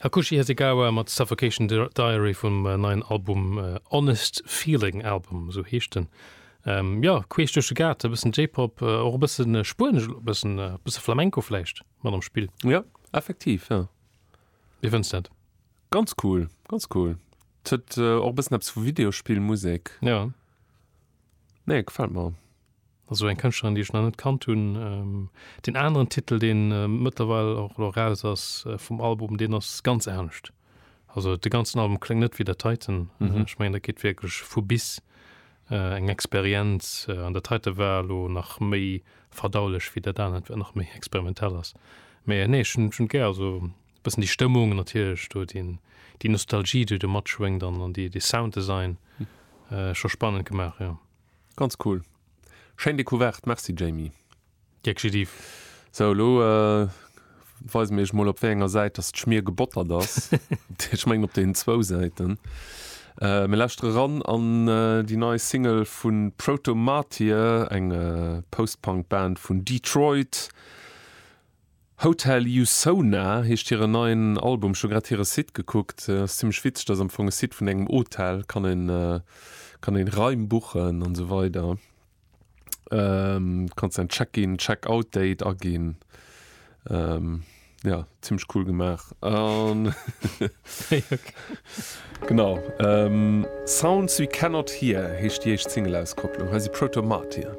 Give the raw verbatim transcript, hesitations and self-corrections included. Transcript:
Hakushi Hasegawa mat Suffocation Diary vum neien Album Honest Feeling Album, esou heescht en. Jo, queesch duerch de Gaart, e bëssen J-Pop, och e bëssen Spuenesch, e bëssen, e bësse Flamenco vläicht mat am Spill. Jo, effektiv, jo. Wéi fënns de dat? Ganz cool, ganz cool. Et huet och e bëssen eppes vu Videospillmusek. Jo. Nee, gefält mer. Also eng Kënschtlerin, déi ech nach net kannt hunn. Deen aneren Titel, deen mëttlerweil och elo eraus ass vum Album, deen ass ganz anescht. Also de ganzen Album kléngt net wéi dat heiten. Ech mengen, dat geet wierklech vu bis eng Experienz. An dat heite war elo nach méi verdaulech wéi dat anert, wat nach méi experimentell ass. Mee nee, ech hunn et gär. Also e bëssen déi Stëmmung natierlech do, déi Nostalgie, déi do matschwéngt an dee Sounddesign, scho spannend gemaach, jo. Ganz cool. Schéin Decouverte, merci Jamie. Gär geschitt Yves. Sou, elo weise mir iech mol op wéi enger Säit dass d'Schmier gebottert ass. Ech mengen op deenen zwou Säiten. Mir lauschtere ran an déi nei Single vu Protomartyr, eng Post-Punk Band vun Detroit. Hotel Usona heescht hiren neien Album. Ech hu grad hire Site gekuckt, ass zimmlech witzeg, dat ass am Fong e Site vun engem Hotel, kann een kann een Raim buchen an esou weider. Kanns däin Check-in, Check-out Date aginn. Jo, zimmlech cool gemaach an genau Sounds We Cannot Hear heescht déi éischt Single-Auskopplung. Hei si Protomartyr.